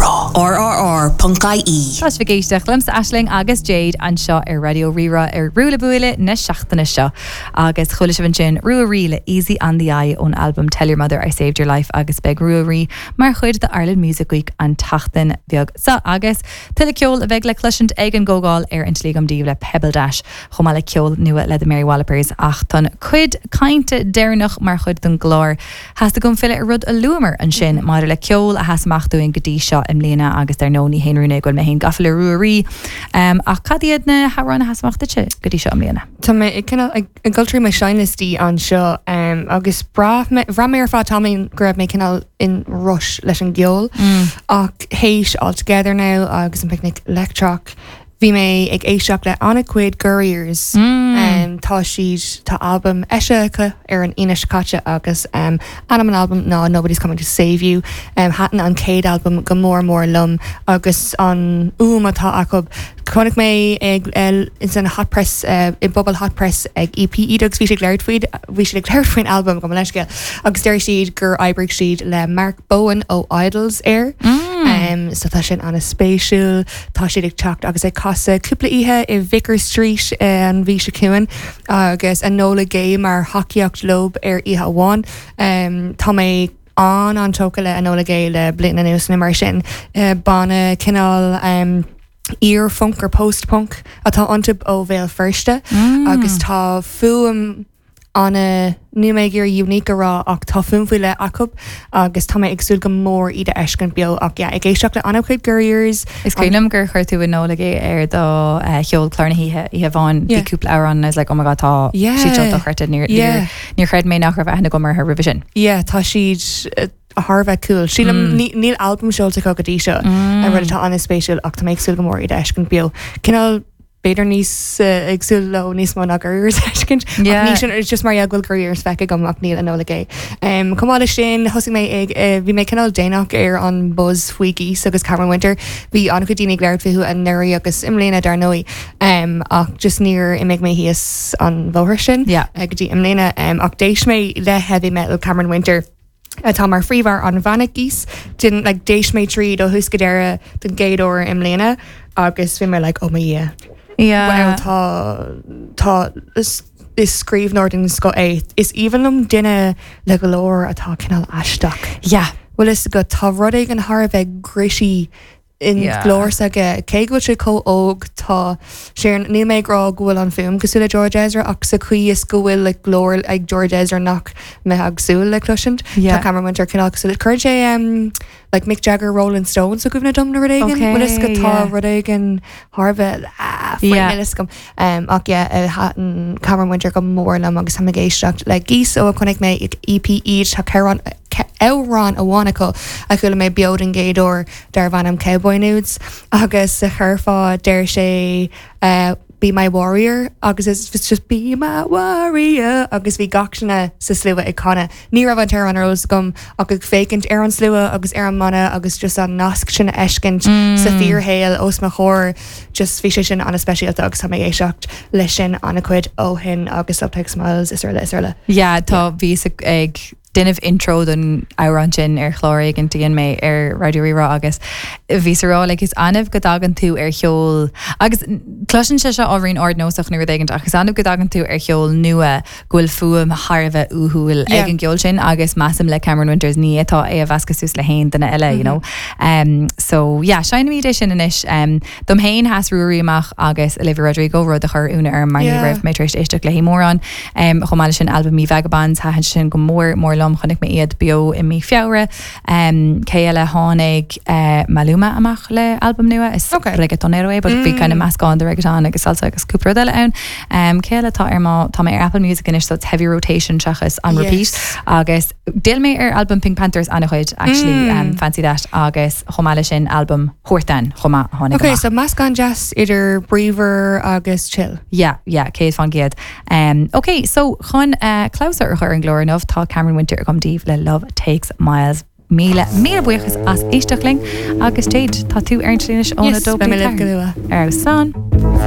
Rí-Rá. RRR.ie. Tá sibh ag éisteacht liomsa Aisling agus Jade anseo ar Raidió Rí-Rá ar Ruaille Buaille na seachtaine seo. Agus chuala sibh ansin Ruaidhrí le Easy on the Eye ón albam Tell Your Mother I Saved Your Life agus beidh Ruaidhrí mar chuid de Ireland Music Week an tseachtain bheag seo. Agus tuilleadh ceoil a bheidh le cloisint ag an gcomhdháil ar an tslí agam daoibh le Pebbledash chomh maith le ceol nua le The Mary Wallopers. Ach don chuid cainte deireanach mar chuid den gclár, Theastaigh uaim filleadh ar rud a luamar ansin maidir le ceol a sheas amach dúinn go dtí seo i mbliana agus dar ndóigh ní haon rún é go bhfuil mé féin gafa le Ruaidhrí. Ach cad iad na hamhráin a sheas amach duitse go dtí seo i mbliana? Tá mé ag cineál ag dul trí mo seinnliostaí anseo agus bhraith mé bhraith mé ar feadh tamaillín go raibh mé cineál in rush leis an gceol ach théis All Together Now agus an Picnic Leictreach Bhí mé ag éisteacht le an-chuid Gurriers. Tá siad, tá albam eisithe acu ar an Aoine seo caite agus ainm an albaim ná Nobody's Coming to Save You. Thaitin an chéad albam go mór mór liom agus an fhuaim atá acu. Chonaic mé ag ins an Hot Press, i bpuball Hot Press ag EP Íde agus bhí siad ag labhairt faoi, bhí siad ag labhairt faoin albam gabh mo leithscéal agus deir siad gur oibrigh siad le Mark Bowen ó Idles air. So tá sin an-spéisiúil. Tá siad ag teacht agus ag casadh cúpla oíche i Vicar Street an mhí seo chugainn agus Enola Gay mar thacaíocht leo ar oíche amháin. Tá mé an-an-tógtha le Enola Gay le bliain anuas nó mar sin. Banna cineál iar-phunk or post-punk atá iontu ó Bhéal Feirste agus tá fuaim ana, níl mé ag iarraidh unique a rá ach tá fuaim faoi leith acu agus tá mé ag súil go mór iad a fheiscint beo ach yeah ag éisteacht le an-chuid Gurriers. Is cuimhin liom gur chuir tú Enola Gay ar do cheol clár na hoíche, oíche amháin, bhí cúpla amhrán and I was like oh my god tá siad seo dochreidte, níor, níor, níor chreid mé nach raibh aithne agam orthu roimhe sin. Yeah tá siad thar a bheith cool. Sílim níl albam seolta acu go dtí seo, rud atá an-spéisiúil ach tá mé ag súil go mór iad a fheiscint beo. Cineál b'fhéidir níos ag súil leo níos mó ná Gurriers a fheiscint. Ach ní sin, it's just mar gheall go bhfuil Gurriers feicthe agam ach níl Enola Gay. Chomh maith leis sin, thosaigh mé ag, bhí mé cineál déanach ar an buzz faoi Geese agus Cameron Winter. Bhí an-chuid daoine ag labhairt fúthu anuraidh agus i mbliana dar ndóigh. Ach just níor imigh mé thíos an bhóthar sin go dtí i mbliana. Ach d'éist mé le Heavy Metal Cameron Winter. atá mar phríomhfhear an bhanna Geese. Didn't like d'éist mé tríd ó thús go deireadh don gcéad uair i mbliana agus bhí mé like oh mo Dhia. Yeah. Wow tá tá is is scríbhneoir den scoth é. Is aoibhinn liom duine le glór atá cineál aisteach. Yeah. Bhfuil fhios agat tá rud éigin thar a bheith gritty i nglór s'aige. Cé go bhfuil sé chomh óg, tá sé ar, níl mé ag rá go bhfuil an fuaim cosúil le George Ezra ach sa chaoi is go bhfuil like glór ag George Ezra nach mbeifeá ag súil le cloisint, tá Cameron Winter cineál cosúil le, cuireann sé um, like Mick Jagger Rolling Stones i gcuimhne dom nó rud éigin, bhfuil fhios agat tá rud éigin thar a bheith ah, faoi yeah. níl fhios agam. Um, ach yeah, eh, thaitin Cameron Winter go mór liom agus táim ag éisteacht le Geese ó a chonaic mé ag EP Íde tá ceann amhrán amháin acu a chuala mé beo den gcéad uair darbh ainm Cowboy Nudes agus sa churfá deir sé Be my warrior agus it's just be my warrior agus bhí gach duine sa slua ag canadh. Ní raibh an t-amhrán ar eolas agam ach ag féachaint ar an slua agus ar an mbanna agus just an nasc sin a fheiscint sa fíorshaol os mo chomhair just bhí sé sin an-speisialta agus tá mé ag éisteacht leis sin an-chuid ó shin agus Love Takes Miles is araile is araile. Yeah, tá bhíos ag déanamh intro don amhrán sin ar chlár éigin a dhein mé ar Raidió Rí-Rá agus bhíos a rá like is annamh go dtagann tú ar cheol agus cloiseann sé seo ábhairín ardnósach nó rud éigin ach is annamh go dtagann tú ar cheol nua go bhfuil fuaim thar a bheith uathúil ag an gceol sin agus measaim le Cameron Winters ní fhéadfá é a mheascadh suas le haon duine eile you know. Um, so yeah, seinnimid é sin anois. Um, Dom féin, sheas Ruairí amach agus Olivia Rodrigo, rud a chuir ionadh orm mar ní raibh mé tar éis éisteacht léi mórán. Chomh maith leis sin, albam Me Vagabonds, thaitin sin go mór mór liom, chonaic mé iad beo i mí Feabhra. Cé eile? Tháinig Maluma amach le albam nua, is reggaetonero é but bhí kind of meascán de reggaeton agus salsa agus cúpla rud eile ann. Cé eile atá ar mo, tá mé ar Apple Music anois so it's heavy rotation seachas on repeat agus d'fhill mé ar albam PinkPantheress an-chuid actually, Fancy That agus chomh maith leis sin albam Huartan chomh maith a tháinig Ok, so meascán deas idir bríomhar agus chill. Yeah, yeah, 100%. Um, ok, so chun uh, clabhsúr a chur ar an gclár inniu, tá Cameron Winter agam daoibh le Love Takes Miles. Míle, míle buíochas as éisteacht linn agus Jade, tá tú ar an tslí anois óna Yes, beidh mé libh go luath. Ar slán.